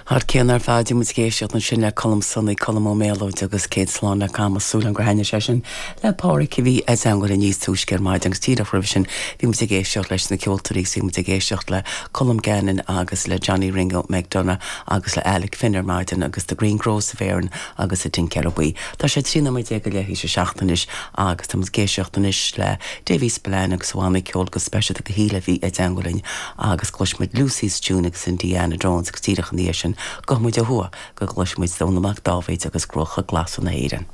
Thar cionn ar fad, bhí muid ag éisteacht ansin le Colm Sonaí, Colm Ó Méalóid agus Céad Slán le Camas, súil agam gur thaitnigh sé sin le Pádhraic a bhí i dteangmháil linn níos túisce ar maidin agus díreach roimhe sin bhí muid ag éisteacht leis na ceoltóirí agus bhí muid ag éisteacht le Colm Gannon agus le Johnny Ringo McDonagh agus le Alec Finn ar maidin agus The Green Groves of Erin agus an Tincéara Buí. Tá sé 13 nóiméad go leath théis a 7 anois agus tá muid ag éisteacht anois le Davy Spillane agus a bhanna ceoil go speisialta do Shíle a bhí i dteangmháil linn agus cloisfidh muid Lucy's Tune agus Indiana Jones agus díreach ina dhiaidh sin gabhfaidh muid ó thuaidh go gcloisfidh muid Dónall Mac Dáibhéid agus Cruacha Glasa na hÉireann.